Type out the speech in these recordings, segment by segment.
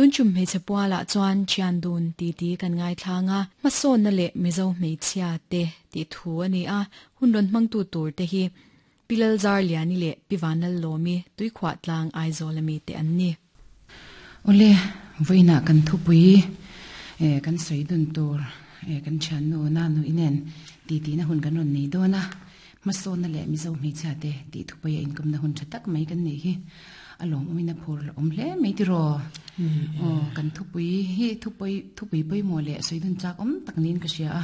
Tun tum hmeichhe pualah chuan thian dun titi kan ngaithlang a, hmasawnna leh Mizo hmeichhia te tih thu a ni a, hun rawn hmangtu tur te hi Pi Lalzarliani leh Pi Vanlallawmi Tuikhuah tlang Aizawl ami te an ni. Awle, vawiinah kan thupui kan sawi dun tur kan thiannu Nanu inen titihna hun kan rawn nei dawn a, hmasawnna leh Mizo hmeichhia te tih thupuia inkawmna hun tha tak mai kan neih hi a lawmawmin a phur awm hle mai tiraw? Aw, kan thupui hi thupui thupui pawimawh leh sawi dun chak awm tak niin ka hria a,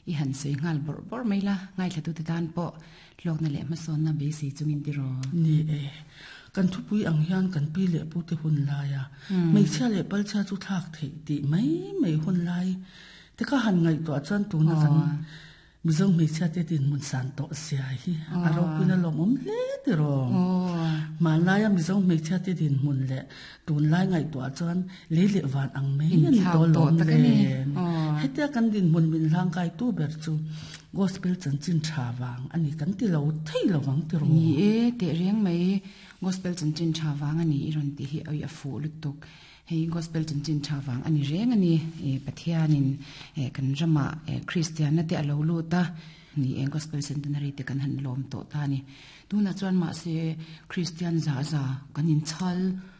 i han sawi nghal bawrh bawrh mai la, ngaithlatute tan pawh Hlawkna leh hmasawnna beisei chungin tiraw? Ni e. Kan thupui ang hian kan pi leh pute hun laia hmeichhia leh palchhia chu thlak theih tih mai mai hun lai te kha han ngaihtuah chuan tuna kan Mizo hmeichhia te dinhmun san tawh zia hi a ropuina lawmawm hle tiraw? Hmanlaia Mizo hmeichhia te dinhmun leh tunlai ngaihtuah chuan lei leh van ang mai a ni tawh lawm le. Hetia kan dinhmun min hlangkaitu ber chu Gospel chanchin tha vang a ni kan ti lo thei lo vang tiraw? Ni e, teh reng mai. Gospel chanchin tha vang a ni i rawn tih hi awi a fuh lutuk. Hei Gospel chanchin tha vang a ni reng a ni. Pathianin kan ramah Kristianna te a lo lut a, ni e Gospel Centenary te kan han lawm tawh ta a ni. Tunah chuan mahse Kristian za za kan inchhal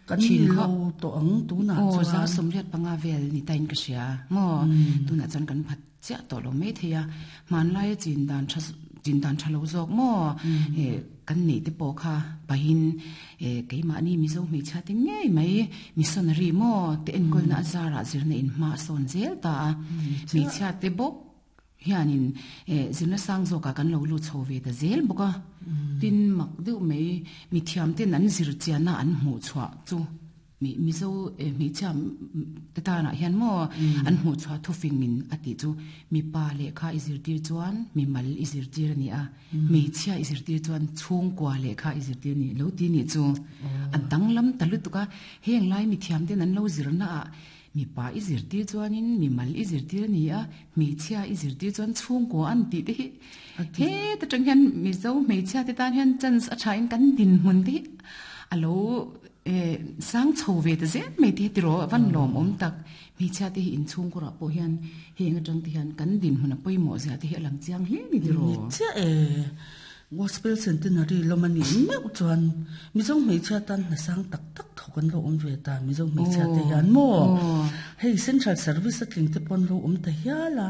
Kan ni lo tawh ang tunah chuan. Aw, 85 vel ni tain ka hria maw? Tunah chuan kan phat chiah tawh lo mai thei a, hmanlaia chin dan tha chin dan tha lo zawk maw eh kan neih te pawh kha pahin eh keimahni Mizo hmeichhia te ngei mai missionary maw te enkawlna a zarah zirna in hma a sawn zel ta a, hmeichhia te bawk hianin eh zirna sang zawkah kan lo lut chho ve ta zel bawk a, tin mak deuh mai mithiam ten an zir chianna an hmuh chhuah chu. Mizo hmeichhia te tanah hian maw an hmuh chhuah thufingin a tih chu mipa lehkha i zirtir chuan mimal i zirtir a ni a, hmeichhia i zirtir chuan chhungkua lehkha i zirtir a ni lo ti nih chu a danglam ta lutuk a. Heng lai mithiam ten an lo zirna ah mipa i zirtir chuanin mimal i zirtir a ni a, hmeichhia i zirtir chuan chhungkua an tih te hi heta tang hian Mizo hmeichhia te tan hian chance a thain kan dinhmun te hi a lo Eh, sang chho ve ta zel mai te hi tiraw a van lawm awm tak. Hmeichhia te hi inchhungkurah pawh hian heng atang te hian kan dinhmun a pawimawh zia te hi a lang chiang hle ni tiraw. Ni chiah e. Gospel Centenary lawm a nih meuh chuan Mizo hmeichhia tan hna sang tak tak thawk an lo awm ve ta Mizo hmeichhia te hian maw? Hei Central Service a tling te pawh an lo awm ta hial a.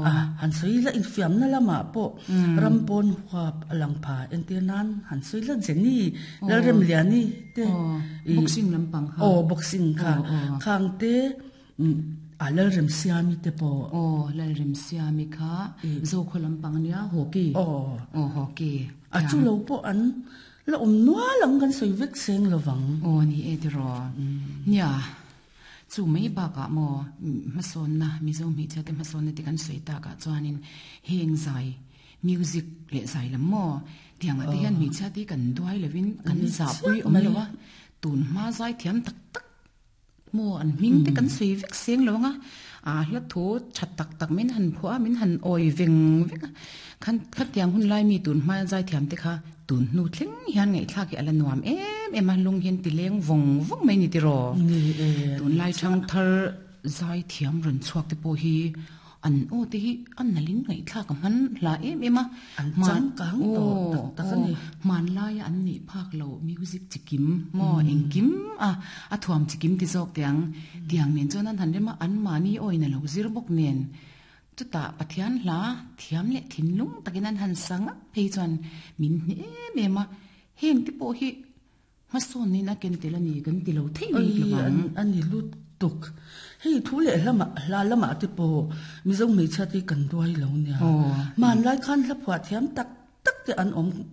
A han sawi ila infiamna lamah pawh ram pawn huap a lang pha entir nan han sawi ila Jenny Lalremliani te boxing lampang kha aw boxing kha khang te a Lalremsiami te pawh aw Lalremsiami kha Zokhaw lampang ania hockey aw aw hockey a chu lo pawh an la awm nual ang kan sawi vek seng lovang aw ni e tiraw nia Chu mai bakah maw hmasawnna, Mizo hmeichhia te hmasawnna te kan sawi takah chuanin heng zai, music leh zai lam maw tiangah te hian hmeichhia te hi kan duai lovin kan zahpui awm lo a, tun hma zai thiam tak tak maw an hming te kan sawi vek seng lo ang a, aa hla thu tha tak tak min han phuah a, min han awi veng vek a, khan khatiang hun lai mi tun hma zai thiam te kha Tun hnu thleng hian ngaihthlak hi a la nuam em em a, lung hian ti leng vawng vawng mai ni tiraw? Tunlai thangthar zai thiam rawn chhuak te pawh hi an aw te hi a nalhin ngaihthlak a hman hla em em a. An changkang tawh tak tak a ni. Hmanlaia an nih phak lo music chikim maw engkim a a thuam chikim ti zawk teh ang. Tiang nen chuan an han rem a, anmahni awin a lo zir bawk nen. Chutah Pathian hla thiam leh thinlung takin an han sa ngap phei chuan min hne em em a, heng te pawh hi hmasawnnin a ken tel a ni kan ti lo thei bik lo ang. A ni lutuk. Hei thu leh hlamah hla lamah te pawh Mizo hmeichhia te hi kan duai lo nia. Hmanlai khan hla phuah thiam tak tak te an awm.